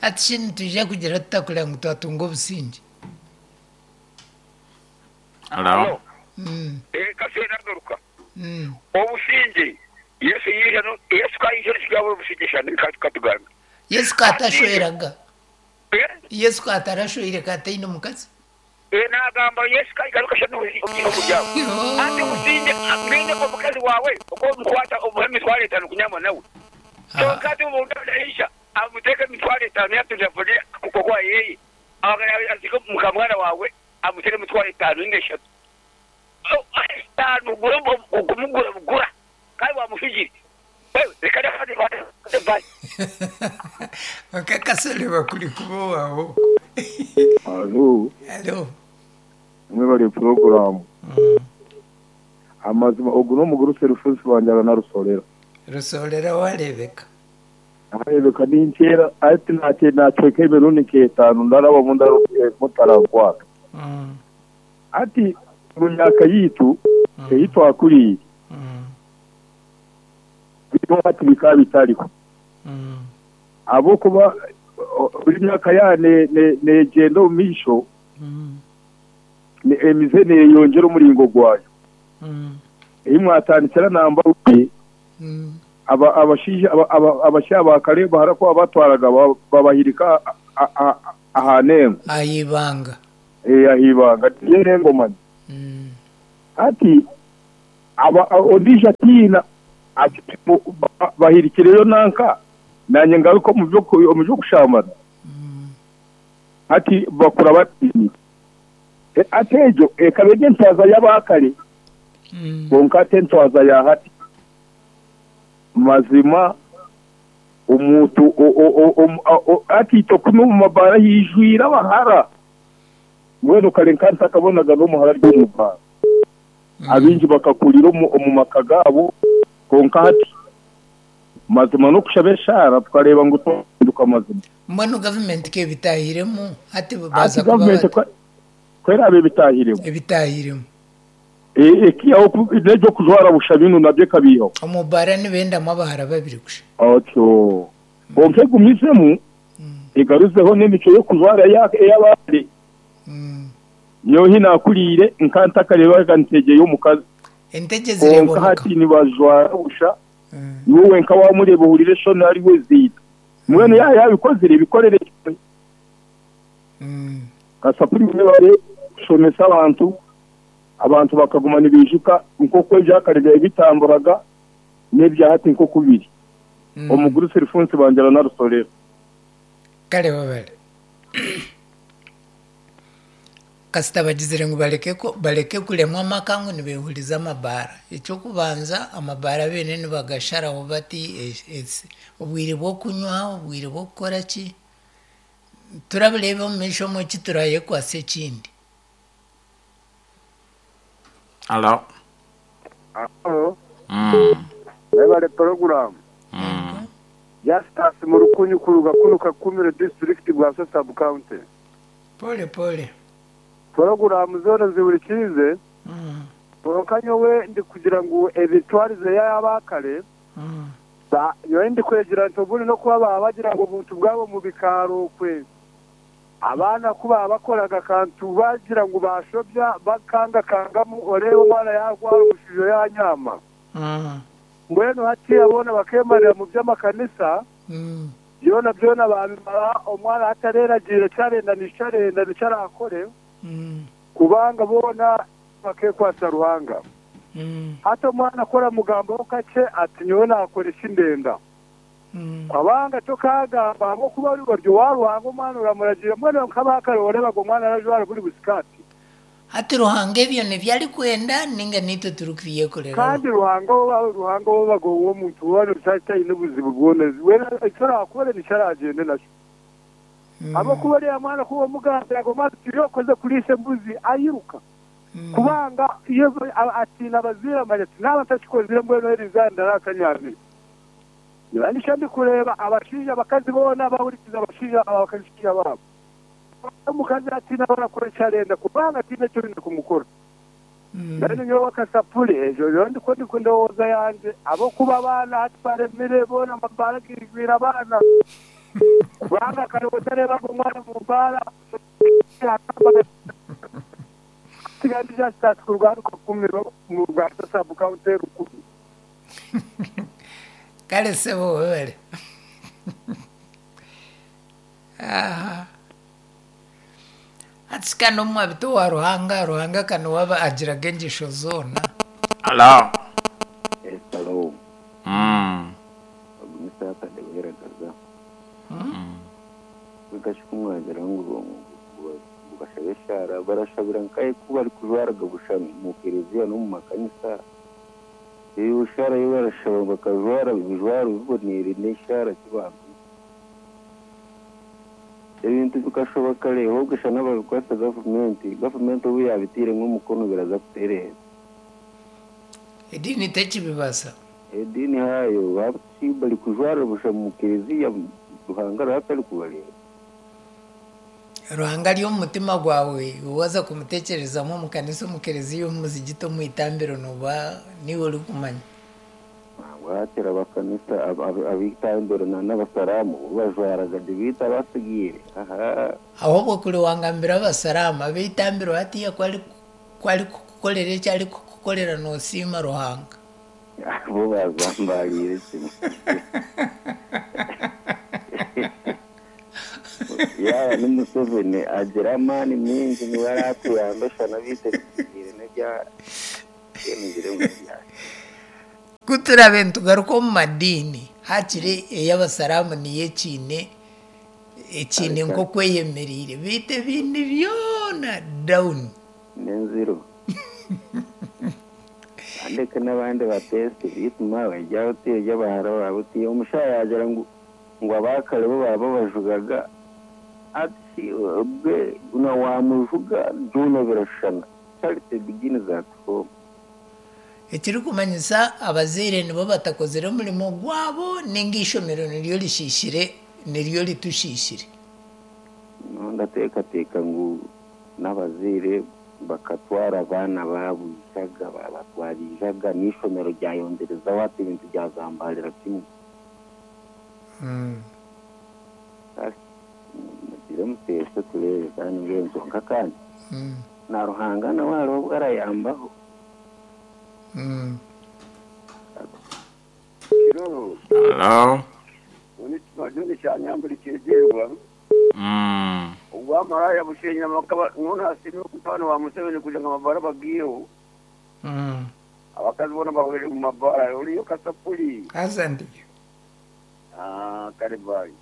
Hati shi nitwija kugira tuta kureba ngu twatunga obusingye? Halo. Kasita nagaruka. Obusingye Yesu yaija no Yesu ka yaija nikyo yabura obusingye shana katugambe. Yesu ka atashweraga? Yesu ka atarashweire ka ataine mukazi? Nagamba Yesu ka garuka shana obusingye oburi aho. Hati obusingye mbwenu omukazi wawe oku omukwata omuhe emitwaro etano kunyama nawe. Kyonka hati obu naija amuteeka emitwaro etano yatungira kukuha eyeye azike mukamwana wawe amutere emitwaro etano ninga eshatu. Etaano kumugura bugura kandi wamuhigire. Kwonka Kasore bakuri kuba owaawe okwo. Halo. Halo. Mwebare puroguramu. Amazima ogu n'omugurusi Rufunsi Wanjara na Rusorera. Rusorera wareebeka. Nareebeka ninkyera hati nacweka emirundi nk'etaano ndarabamu mutarankwata. Hati omu myaka yaitu ei twakuriire, biriho hati bikaba bitariho. Ahabw'okuba buri myaka yaaba neegyenda omu maisho, emize neeyongyera omuringo gwayo. Ei mwatandikira namba rumwe, abashaija ba kare bahara ku baabatwaraga babahirika aha nengo. Aha ibanga. Aha ibanga niyo nengo manya. Hati ondiijo atiina ati bahirikireyo nanka naanye ngaruke omu by'okushambana. Hati bakura batiinire. Hati egyo ekaba eri entwaza y'abaakare kwonka hati entwaza ya hati mazima omuntu hati itwe kunu omu mabaara haijwire abahara. Mbwenu kare nkaba ntakabonaga n'omuhara ari omu baara. Abaingi bakakurira omu maka gaabo kwonka hati mazima n'okushaba eshaara tukareeba ngu twahinduka mazima. Mbwenu gavumenti ka ebitaahiremu hati Hati baaza kuba gavumenti bata? ku eraabe ebitaahiremu. Ebitaahiremu. Ekiihaho n'eby'okujwara busha binu nabyo ekabiihaho. Omu baara nibendamu abahara babiri kusha. Otyo. Kwonka egumizemu egaruzeho n'emicwe y'okujwara ey'abandi. Nyowe ahi naakuriire nkaba ntakareebaga ntegye y'omukazi. Entegye Kwonka zireebwa hati nibajwara busha, iwe wenka waamureeba ohurira eshoni ariwe ziita. Mbwenu yaaba yaabikozire ebikorere kimwe. Kasapuri mwebare kushomesa abantu, abantu bakaguma nibaijuka nk'oku ebyakare byaabaire bitamburaga n'ebya hati nk'oku biri. Omugurusi Rufunsi Bangira na Rusorera. Kare webale. Kasita bagizire ngu bareke bareke kuremwa amaka ngu nibehuriza amabaara. Eky'okubanza amabaara beene nibagasharaho bati obwire bw'okunywa, obwire bw'okukora ki, turabireeba omu maisho omwe eki turayekwatsa ekindi. Halo. Halo. Mwebale puroguramu. Justus Murukunyu kuruga kunu Kakumiro disiturikiti Bwaso sabu county. Pole pole. Puroguramu zoona nzihurikiize kwonka nyowe ndikugira ngu emitwarize y'abakare nyowe ndikwegira nti obundi n'okuba baba bagira ngu obuntu bwabo omu bikaaro okwe abaana ku baba bakoraga akantu bagira ngu bashobya bakangakangamu oreeba omwana yarwara omushujo yanyama. Mbwenu hatiiya boona bakeemarira mu by'amakanisa, byona byona baabimara, omwana hati areeragiira eki arenda nikyo arenda nikyo araakore, kubanga boona bakeekwatsa Ruhanga. Hati omwana ku oramugambaho kakye ati nyowe naakora eki ndenda. Kubanga tokaagamba ahabw'okuba ori owa Ruhanga omwana oramuragiira. Mbwenu nk'abaakare oreebaga omwana arajwara buri busikaati. Hati Ruhanga ebyo nibyo arikwenda ninga naitwe turikubyekoreraho? Kandi Ruhanga ou Ruhanga ou obaga ow'omuntu weena otaine buzibu bwona, weena eki oraakore nikyo araagyende nakyo. Ahabw'okuba oriya mwana ku omugambiraga omwana oti ori okoze kuriisa embuzi, airuka. Kubanga iyo atiina abazaire amanya ati naaba ntakikozire mbwenu eri izooba ndaraara ntanyamire. Niba nikyo ndikureeba abashaija abakazi boona bahurikiza abashaija abashaija baabo. Omukazi atiina abarakora eki arenda kubanga tihaine eki oine kumukora. Mbwenu nyowe akasapuri egyo niyo ndiko ndowooza yangye ahabw'okuba abaana hati baremire boona amabaara gaijwire abaana. Kubanga kare otareebaga omwana omu baara Kale ssebo webale. Aha. Hati ka n'omwabita owa Ruhanga, Ruhanga ka niwe aba agiraga engyesho zoona. Hello. Yes, hello. Mm. Ogu ni Saturday weragaza. Bikashi ku mwagira ngu ngu bashabe eshaara, barashabira nkahi ku barikujwaraga busha omu kereziya n'omu makanisa? Eyo shaara ei barashaba bakajwara ebijwaro biboneire n'eshaara ki bampiire? Ebintu bikashoba kare ahobwe shana babikwatsa gavumenti, gavumenti obu yabiteiremu omukono biraza kutereera. Ediini tekibibasa. Ediini haayo babuti bari kujwara busha mu kereziya Ruhanga ariho atari kubareeba. Ruhanga ari omu mutima gwawe, iwe waza kumutekyerezamu omu kanisa, omu kereziya, omu muzigiti, omu itambiro noba niiwe orikumanya. Nangwa hakiri abakanisa ab'eitambiro na n'abasaraamu bo bajwaraga gye beitu abasigaire ahaa. Ahobwe kuri wangambira abasaraamu, ab'eitambiro hatiiya ku arikukukorera eki arikukukorera nosiima Ruhanga. Bo bazambaariire kimwe. Yaaba ni Museveni agira amaani maingi niwe arakuyamba eshana beitu ebisigaire n'ebya mbwenu ngire ngu n'ebya ki. Ku turaabe nitugaruka omu madiini, haakiri ey'abasaraamu niyo ekiine ekiine nk'oku eyemereire beitu ebindi byona down. N'enziro. Andeke n'abandi bateese beitu maawe ryawe ti ery'abahara baawe ti omushaija yaagira ngu ngu abaakare bo baaba babajugaga ati obwe na waamujuga byona birashushana charity begins at home. Ekirikumanyisa abazaire nibo batakozire omurimo gwabo ninga eishomero niryo rishiishire niryo ritushiishire. Nyowe ndateekateeka ngu n'abazaire bakatwara abaana baabo ijaga, baabatwara ijaga n'eishomero ryayongyerezaho hati ebintu byazambarira kimwe. Kare mugire muteese tureebe kandi mbwenu kwonka kandi na Ruhanga nawe hariho obu arayambaho. Hello. Nyowe kyanyambura kyegyerwa. Obwamaraya bushenyire amaka nyowe nasiimire omutabani wa Museveni kugira ngu amabara bagiiheho. Abakazi boona bahwereire omu mabara. Oriyo kasapuri? Haza ndiyo. Kare bye.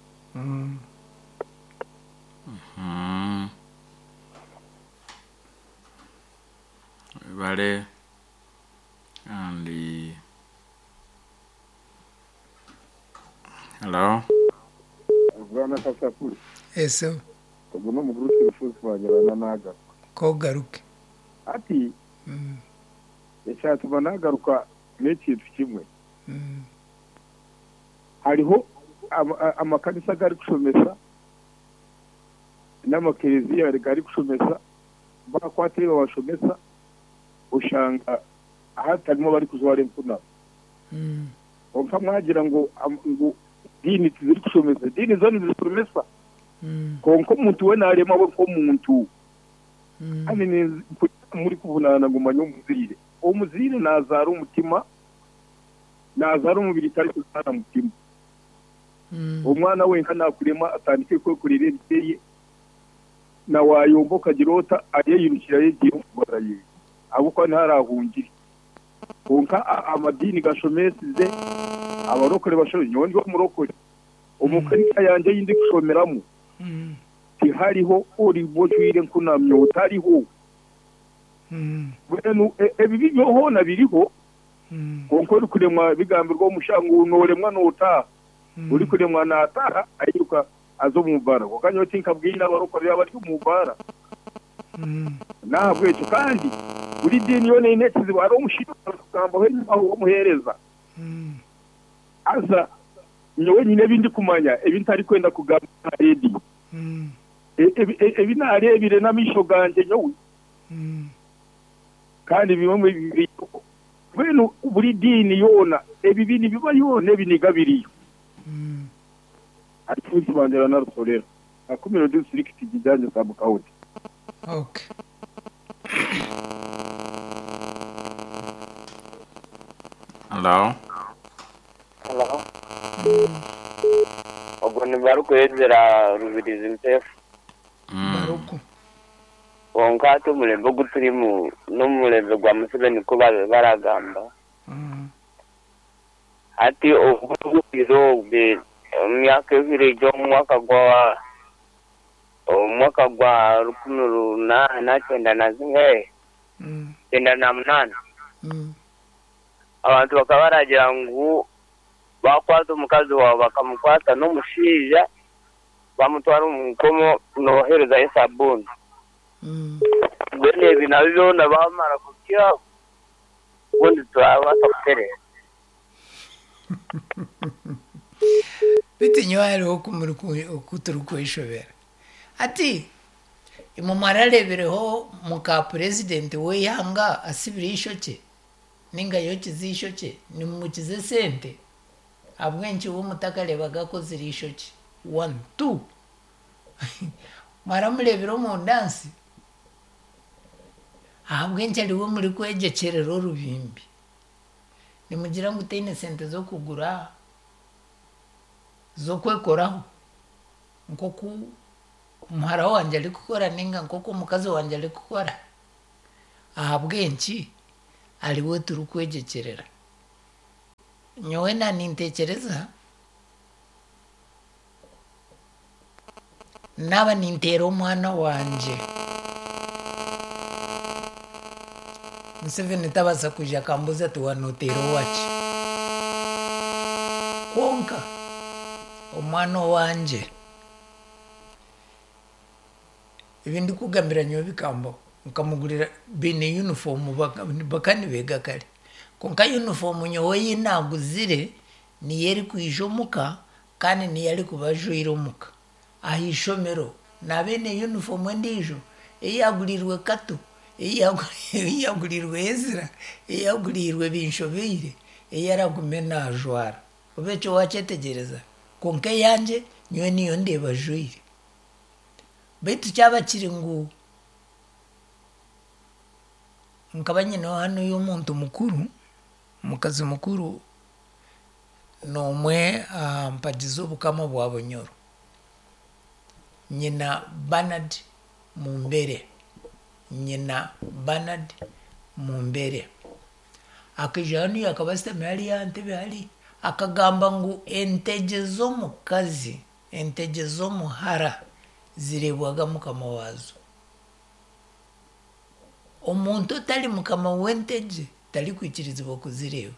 Webale kandi Hello. Bwana Kasakuri, Ese ogu n'omugurusi Rufuusi wagira naagaruka. K'ogaruke. Hati ekyatuma naagaruka n'ekintu kimwe. Hariho amakanisa agarikushomesa n'amakereziya garikushomesa, baakwata ebi babashomesa oshanga hatarimu abarikujwara empunaro. Kwonka mwagira ngu ngu ediini tizirikushomesa, ediini zo nizishomesa kwonka omuntu we naaremwa we nk'omuntu. Kandi mpurira murikuvunaana ngu manya omuzaire. Omuzaire naazaara omutima, naazaara omubiri tarikuzaara mutima. Omwana wenka naakurema atandike kwekorera ebyeye, na waayomba okagira ota ayeyirukire ayegiire omu bara ye ahabw'okuba niho araahungire. Kwonka amadiini gashomesize, abarokore bashomesize, nyowe ndi omurokore, omu kanisa yangye ei ndikushomeramu tihariho oriba ojwaire enkunamyo, tariho. Mbwenu ebibi byo hoona biriho, kwonka orikuremwa bigambirwe omushaho ngu nooremwa nootaaha, orikuremwa naataaha airuka aza omu baara. Kwonka nyowe tinkabwine abarokore abari omu baara. N'ahabw'ekyo kandi buri diini yoona eine ekizibu. Hariho omushaija orikugambaho enyima aho w'omuheereza. Haza nyowe nyine ebi ndikumanya ebi ntarikwenda kugamba aha rediyo. Ebi naareebire n'amaisho gangye nyowe. Kandi bimwe biriho. Mbwenu buri diini yoona ebibi nibibayo n'ebiniga biriyo. Ari Kibandera na Rusorera. Kakumiro disiturikiti Kijanje sabu county. Okay. Hello. Hello. Ogwo ni barikuhezera Rubirizi Mpefu. Baruku. Kwonka hati omurembe ogu turimu n'omurembe gwa Museveni ku baragamba. Hati obu obwe omu myaka ebiri egi omu mwaka gwa 1898. Abantu bakaba baragira ngu bakwata omukazi wawe bakamukwata n'omushaija bamutwara omu nkomo nooherezayo sabuuni. Mbwenu ebi nabyo byona bamara kubiihaho obundi turabaasa kutereera. Beitu nyowe hariho oku turikweshobera. Hati imwe mwarareebireho muka purezidenti w'eihanga asibire eishokye ninga ayokize eishokye nimumukiza esente? Ahabw'enki we mutakareebaga akozire eishokye? One, two. Mwaramureebire omu dansi? Ahabw'enki ariwe murikwegyekyerera orubimbi? Nimugira ngu taine sente z'okugura z'okwekoraho nk'oku muhara wangye arikukora ninga nk'oku omukazi wangye arikukora? Ahabw'enki ariwe turikwegyekyerera? Nyowe na nintekyereza naaba ninteera omwana wangye Museveni tabaasa kwija akambuuza ati waaba nooteera owaki? Kwonka omwana owangye ebi ndikugambira nyowe bikambaho nkamugurira baine yunifoomu bakaba nibeega kare kwonka yunifoomu nyowe ei naaguzire niyo erikwija omuka kandi niyo arikuba ajwaire omuka. Aha ishomero naaba aine yunifoomu endiijo ei yaaguriirwe Kato, ei yaaguriirwe Ezra, ei yaaguriirwe Binshobeire ei aragume naajwara. Oba ekyo waakyetegyereza? Kwonka eyangye nyowe niyo ndeeba ajwaire. Beitu kyaba kiri ngu nkaba nyineho hanuya omuntu mukuru, omukazi mukuru n'omwe aha mpagi z'obukama bwa Bunyoro. Nyina Bernard Mumbere. Nyina Bernard Mumbere. Akaija hanuya akaba ashutami hariya aha ntebe hari, akagamba ngu entegye z'omukazi, entegye z'omuhara zireebwaga mukama waazo. Omuntu otari mukama w'entegye tarikwikirizibwa kuzireeba.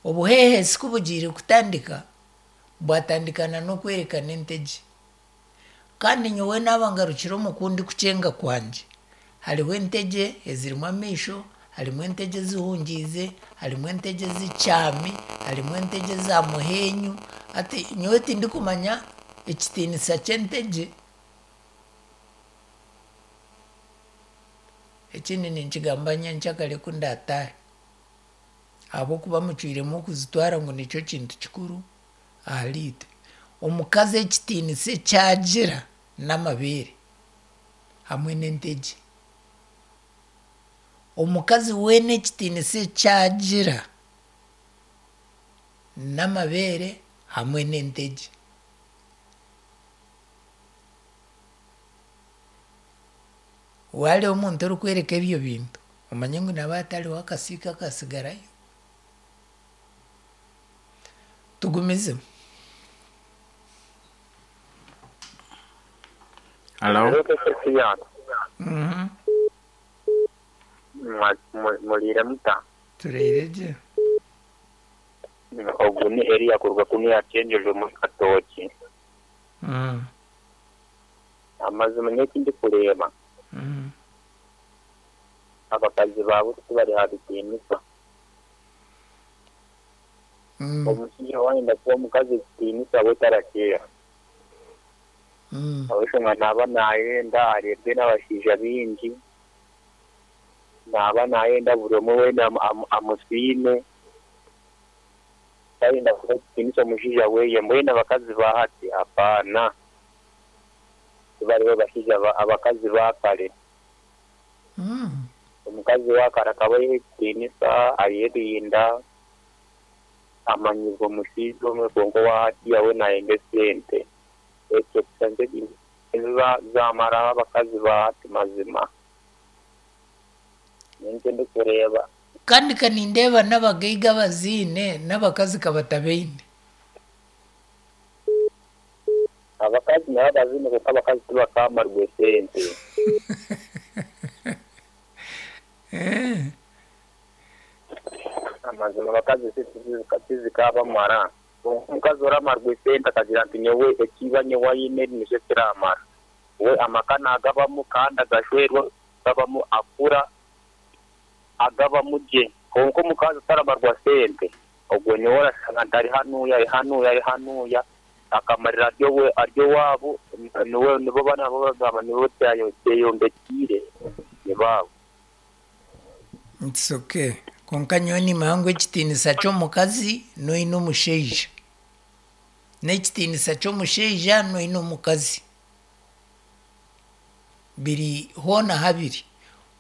Obuheehesi ku bugiire kutandika, bwatandikana n'okwerekana entegye. Kandi nyowe naaba ngarukire omu kundi kukyenga kwangye, hariho entegye ezirimu amaisho, harimu entegye ezihungiize, harimu entegye ezikyami, harimu entegye eza muhenyu. Hati nyowe tindikumanya ekitiinisa ky'entegye. Ekindi ninkigamba nyenkyakare ku ndaataahe ahabw'okuba mucwiremu okuzitwara ngu nikyo kintu kikuru ahariitwe. Omukazi ekitiinisa eki agira n'amabeere hamwe n'entegye. Omukazi weena ekitiinisa eki agira n'amabeere hamwe n'entegye. Wareeba omuntu orikworeka ebyo bintu omanye ngu naaba hatariho akasiika akatsigarayo. Tugumizemu. Hello. Muriire muta? Turiire gye. Ogu ni Eliya kuruga kunu Kyenjojo omuri Katookye. Amazima nyowe eki ndikureeba, abakazi ba buti tibari aha bitiinisa. Omushaija waayenda kuha omukazi ekitiinisa we tarakiha. Ahabw'enshonga naaba naayenda areebwe n'abashaija baingi, naaba naayenda buri omwe weena amusiime. Tayenda kuha ekitiinisa omushaija weye. Mbwenu abakazi ba hati apaana. Tibari bashaija abakazi ba kare. Omukazi wa kare akaba ayeha ekitiinisa, ayerinda, amanyirwe omushaija omwe kwonka owa hatiiya we nayenda esente. Ekyo kusha nikyo kintu zamaraho abakazi ba hati mazima. Nikyo ndikureeba. Kandi ka nindeeba n'abagaiga abaziine n'abakazi ka batabaine. Abakazi nabo abaziine kwonka abakazi tibakamarwa esente. Amazima abakazi esente tizikabamara. Kwonka omukazi oramarwa esente akagira nti nyowe eki iba nyowe aine nikyo kiramara. We amaka naagabamu kandi agashwerwa agabamu akura agabamu gye. Kwonka omukazi otaramarwa sente ogwo nyowe orashanga nti ari hanuya ari hanuya ari hanuya akamarira ari owaabo nibo bana bagamba nibo kyeyombekyeire nibaabo. It's okay. Kwonka nyowe nimanya ngu ekitiinisa ky'omukazi n'oine omushaija. N'ekitiinisa ky'omushaija n'oine omukazi. Biri hoona habiri.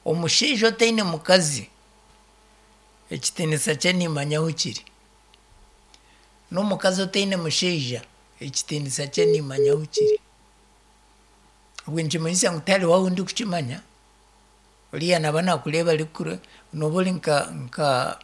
Omushaija otaine mukazi, ekitiinisa kye nimanya ahu kiri. N'omukazi otaine mushaija, ekitiinisa kye nimanya ahu kiri. Obwe nikimanyisa ngu tihariho ahu ndikukimanya. Oriya naaba naakureeba arikukure nooba ori nka nka.